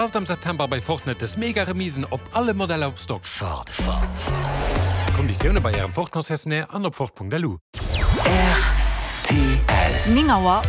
Passt am September bei Ford net des mega Remisen op alle Modeller op Stock. Ford, Ford, Ford. Konditioune bei Ärem Ford Concessionnaire an op Ford.lu. Rtl. 9 Auer.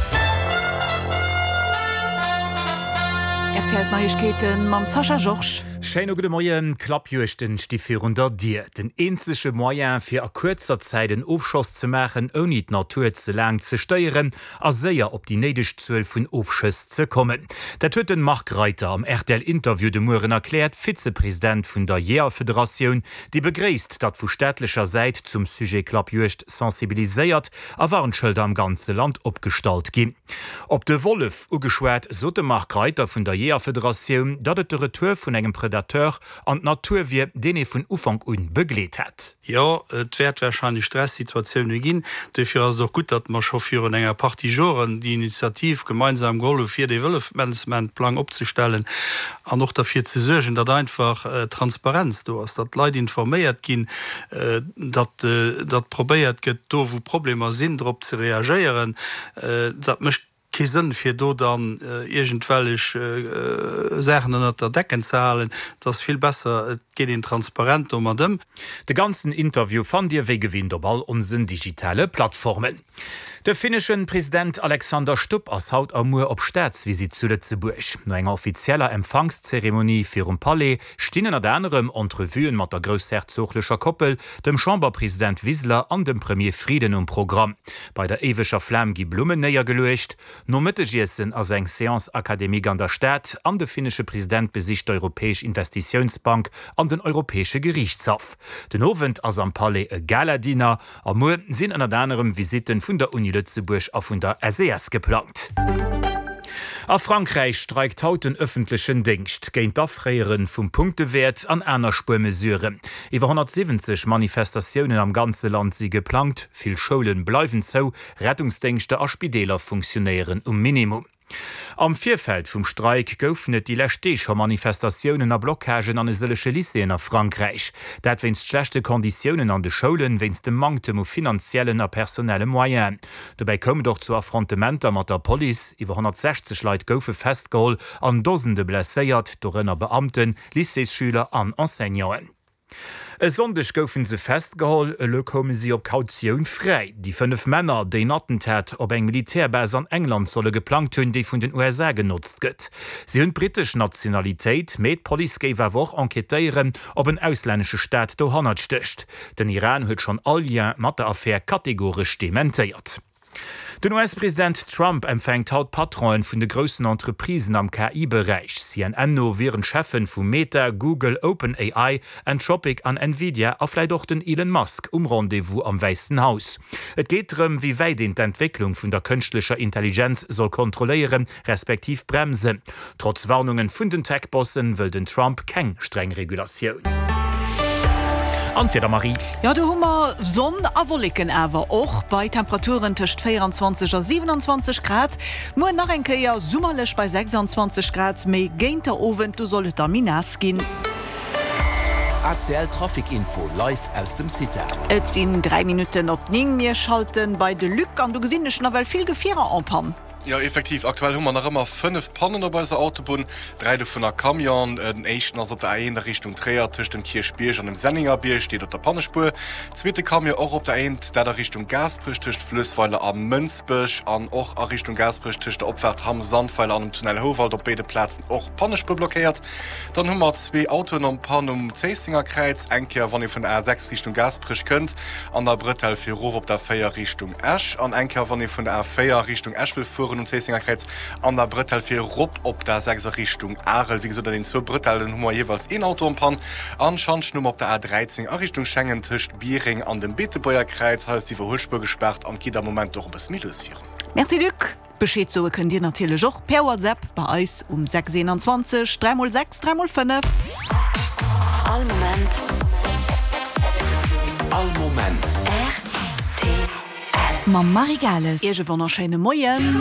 Rtl D'Neiegkeeten mam Sascha Georges. Schéine gudde Moien. Klappjuegten sti virun der Dier. Den eenzege Moyen fir a kuerzer Zäit en Ofschoss ze maachen, ouni d'Natur ze laang ze stéieren, a séier op déi néideg Zuel vun Ofschëss ze kommen. Dat huet den Marc Reiter am RTL-Interview de Mueren erkläert, Vizepresident vun der Jeeërfederatioun, déi begréisst, datt vu staatlecher Säit zum Sujet Klappjuegd sensibiliséiert a Warnschëlder am ganze Land opgestallt ginn. Op de Wollef ugeschwat, sot de Marc Reiter vun der Jeeërfederatioun, datt et de Retour vun engem Predateur an d'Natur wier, deen ee vun Ufank un begleet hätt. Jo, et wäert warscheinlech Stressituatioune ginn. Duerfir ass et och gutt, datt mer scho virun enger Partie Joren déi Initiativ gemeinsam geholl hu fir dee Wëllefmanagementplang opzestellen an och derfir ze suergen, datt einfach Transparenz do ass, datt d'Leit informéiert ginn, datt datt probéiert gëtt, do wou Problemer sinn, drop ze reagéieren. Dat mécht Kee Sënn fir do dann iergendwellech Saachen ënnert der Decken ze halen. Et ass vill besser et geet een transparent domat ëm. De ganzen Interview fannt dir wéi gewinnt op all onsen digitale Plattformen. De finneschen President Alexander Stubb ass haut a muer op Staatsvisitt zu Lëtzebuerg. No enger offizieller Empfangszeremonie virum Palais stinn ënnert anerem Entrevuen mat der groussherzoglecher Koppel, dem Chamberpresident Wiseler an dem Premier Frieden um Programm. Bei der éiweger Flam gi Blummen néiergeluecht. Nom Mëttegiessen ass eng Séance académique an der Stad an de finnesche President besicht d'Europäesch Investitiounsbank an den Europäesche Geriichtshaff. Den Owend ass am Palais e Gala-Dinner A muer sinn ënnert anerem Visitten vun der Uni Lëtzebuerg a vun der SES geplangt. A Frankräich streikt haut den ëffentlechen Déngscht géint d'Afréiere vum Punktewäert an aner Spuermesuren. Iwwer 170 Manifestatiounen am ganze Land si geplangt, vill Schoule bleiwen zou, Rettungsdéngschter a Spideeler funktionéieren um Minimum. Am Virfeld vum Streik goufen et déi lescht Deeg scho Manifestatiounen a Blockagen an e sëllege Lycéeën a Frankräich. Dat wéinst schlechte Konditiounen an de Schoulen, wéinst dem Manktem u finanziellen a personelle Moyenen. Dobäi koum et och zu Affrontementer mat der Police. Iwwer 160 Leit goufe festgeholl an Dosende blesséiert, dorënner Beamten, Lycéesschüler an Enseignanten. E Sonndeg goufen se festgeholl, elo koume si op Kautioun fräi. Déi 5 Männer, déi en Attentat op eng Militärbase an England solle geplangt hunn, déi vun den USA genotzt gëtt. Si hunn d'brittesch Nationalitéit, mee d'Police géif awer och enquêtéieren, ob en auslännesche Staat dohannert stécht. Den Iran huet schonn all Lien mat der Affär kategoresch dementéiert. Den US-President Trump empfänkt haut d'Patronen vun de groussen Entreprisen am KI-Beräich. CNN no wieren d'Cheffen vu Meta, Google, OpenAI, Anthropic an Nvidia a vläit och den Elon Musk um Rendez-vous am Wäissen Haus. Et geet drëm, wéi wäit een d'Entwécklung vun der kënschtlecher Intelligenz soll kontrolléieren, respektiv bremsen. Trotz Warnungen vun den Tech-Bossen wëll den Trump keng streng Regulatioun. An d'Wieder, Marie? Jo, do hu mer Sonn a Wolleken awer och bei Temperaturen tëscht 24 a 27 Grad. Muer nach eng Kéier summerlech bei 26 Grad, méi géint der Owend, do soll et da méi naass ginn. ACL Trafic Info live aus dem CITA. Et sinn 3 Minutten op 9, mir schalten bei de Luc an do gesinn ech nawell vill Gefierer en panne. Jo, effektiv, aktuell hu mer nach ëmmer 5 Pannen op eiser Autobunn, 3 dovunner Camion. Den éischten ass op der A1 a Richtung Tréier tëscht dem Kierchbierg an dem Senningerbierg, steet op der Pannespuer. Zweete Camion och op der A1, dat a Richtung Gaasperech tëscht Fluessweiler a Mënsbech an och a Richtung Gaasperech tëscht der Opfaart Hamm-Sandweiler an dem Tunnel Houwald, op béide Plazen och d'Pannespuer blockéiert. Dann hu mer zwee Autoen en panne um Zéissenger Kräiz, eng Kéier wann ee vun der A6 Richtung Gaasperech kënnt an der Bretelle fir erof op der 4 Richtung Esch an eng Kéier wann ee vun der A4 Richtung Esch wëll fueren um Zéissenger Kräiz an der Bretelle fir erop op der 6 a Richtung Arel. Wéi gesot an den zwou Bretellen hu mer jeeweils een Auto en panne. An Schantjen hu mer op der A13 a Richtung Schengen tëscht Biereng an dem Beetebuerger Kräiz. Hei ass d'Iwwerhuelspuer gespaart an et geet am Moment och e bësse méi lues virun. Merci Luc. Bescheed soe kënnt Dir natierlech och per WhatsApp bei eis um 6 21 3 x 6 3 x 5. All Moment. All Moment. Rtl. Mam Marie Gales. Iech e wonnerschéine Moien.